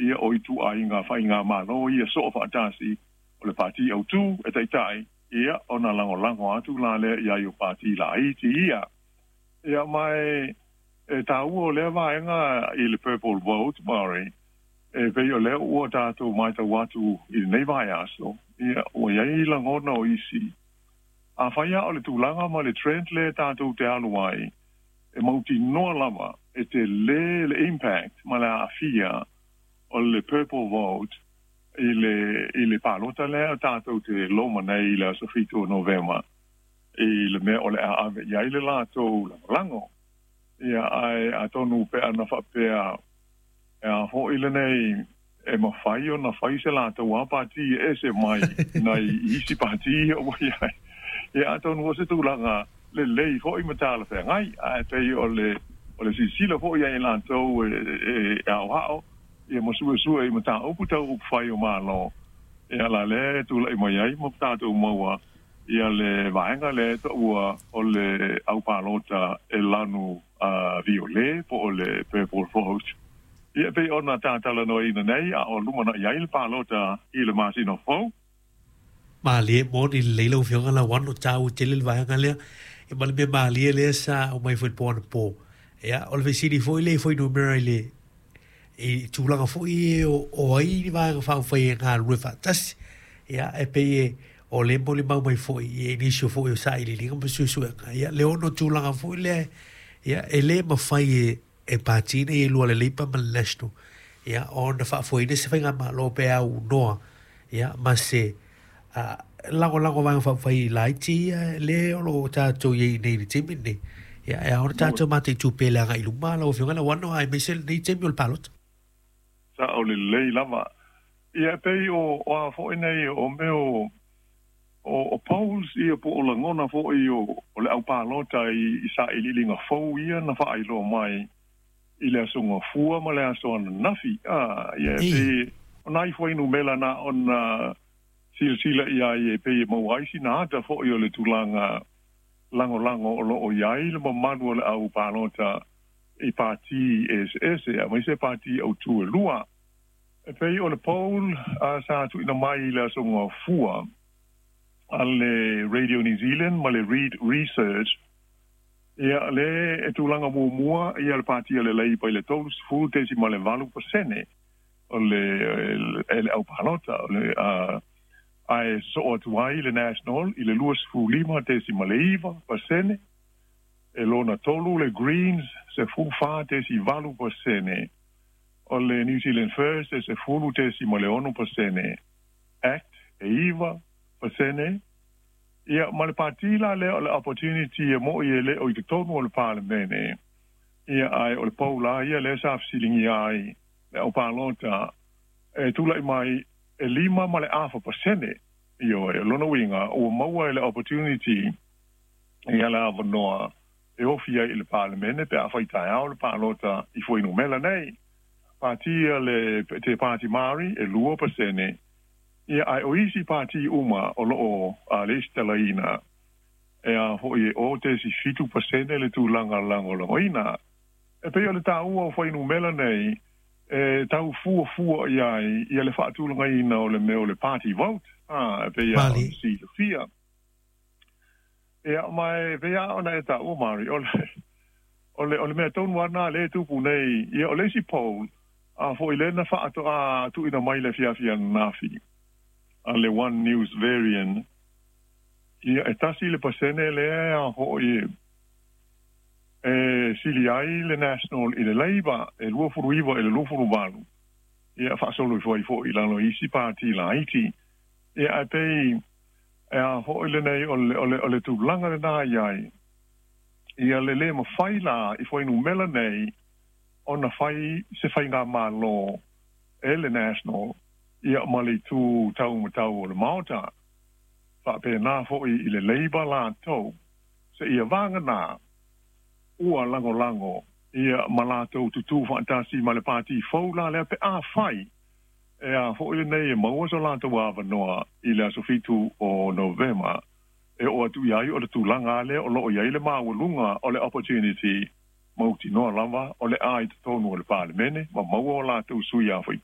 Ia o ituaiga faigamalo ia soofaatasi o le Pati Autū e taita'i, ia ona lagolago atu la lea i ai o pati laiti ia. Ia ma e taua o lea vaega i le purple vote, Murray, e pei o lea ua tatou matau atu i lenei vaiaso, ia ua i ai lagona o isi. Afai lava o le tulaga ma le trend lea tatou te alu ai, e mautinoa lava e telē le impact ma le aafia o le purple vote i le i le palota lea tatou te loma nei i le aso 7 o Novema i le mea o le a ave i ai le latou lagolago. Ia, ae atonu pe ana faapea e a foi lenei e mafai ona fai se latou lava pati e ese mai nai isi pati ia ua i ai. Ia, atonu o se tulaga lelei foi ma talafeagai, ae pei o le o le silasila foi ia i latou e aoao ia ma suesue i mataupu tau upufai o Malo, ia la lea e tulai mai ai ma tatou maua ia le vaega lea e taua o le au palota e lanu violet po o le purple vote. Ia pei ona tatalanoaina nei a o lumanai ai le palota i le masina fou. Malie moni lelei lau Afioga Lauano, taua tele le vaega lea. Ia ma le mea malie lea sa aumai foi i le po anapo. Ia, o le fesili foi lea i fuainumera i le i tulaga foi e o, o ai ni vaega faaupufai e galulue faatasi. Ia, e pei e o lea e molimau mai foi i nisi o foi o sailiiliga ma suesuega. Ia, le ono tulaga foi lea, ia, e le mafai e, e pati nei e lua le Labour ma le National, ia, ona faafoeina se faigamalo pe aunoa, ia, ma se lagolago vaega faaupufai laiti ia le o lo o tatou i ai nei i le taimi lenei. Ia, e ao ona tatou mataitu pea le agai i luma lau Afioga Lauano, aemaise lenei taimi o le palota. Sao lelei lava. Ia, e pei o a foi nei o mea o polls ia po o lagona foi o le au palota i sailiiliga fou ia na faailoa mai i le aso Gafua ma le aso ananafi. Ia, e pei o nai fuainumera na ona silasila i ai e pei e maua ai sina ata foi o le tulaga lagolago o lo o i ai le mamalu o le au palota i pati eseese, aemaise pati autū e lua. E pei o le poll sa tuuina mai i le aso Gafua a le Radio New Zealand ma le Reid Research, ia le e tulaga muamua ia le pati a le Labour i le 30.8% o le e le au palota o le ae sosoo atu ai le National i le 25.9%, e lona tolu le Greens 14.8%, o le New Zealand First e 10.6%, Act e 9%, ia ma le pati la lea o le Opportunity e mo'i e le o i totonu o le Palemene, ia ae o le poll la ia lea sa fesiligia ai le au palota e tulai mai e 5.5%. Ioe, o lona uiga ua maua e le Opportunity ia le avanoa e ofi ai i le Palemene pe afai taeao le palota i fuainumera nei. Pati a le Te Pāti Māori e 2%, ia ae o isi pati uma o lo o lesitalaina e a foi e 0.7% le tulaga lagolagoina. E pei o le taua o fuainumera nei e tau fuafua i ai ia le faatulagaina o le mea o le party vote, e pei lava ona silafia. Ia, ma e pei lava ona e taua, Mari, o le, o le, o le mea tonu lava lena lea e tupu nei, ia o le isi poll, a foi lea na faatoa tuuina mai i le afiafi ananafi a le One News Varian, ia e 1% lea a foi e sili ai le National i le Labour e 29 i le 28, ia faasolo ifo ai foi i lalo i isi pati laiti. Ia ae pei e a foi lenei o le, o le, o le tulaga lena i ai, ia le lē mafai la i fuainumera nei ona fai se faigamalo e le National ia ma le itu taumatau o le Maota. Faapena foi i le Labour latou, seia vagana ua lagolago ia ma latou tutū faatasi ma le pati fou la lea pe afai e a foi lenei e maua so latou avanoa i le aso 7 o Novema e oo atu i ai o le tulaga lea o lo o i ai le maualuga o le Opportunity mautinoa lava o le a i totonu o le Palemene ma maua o latou sui usufono.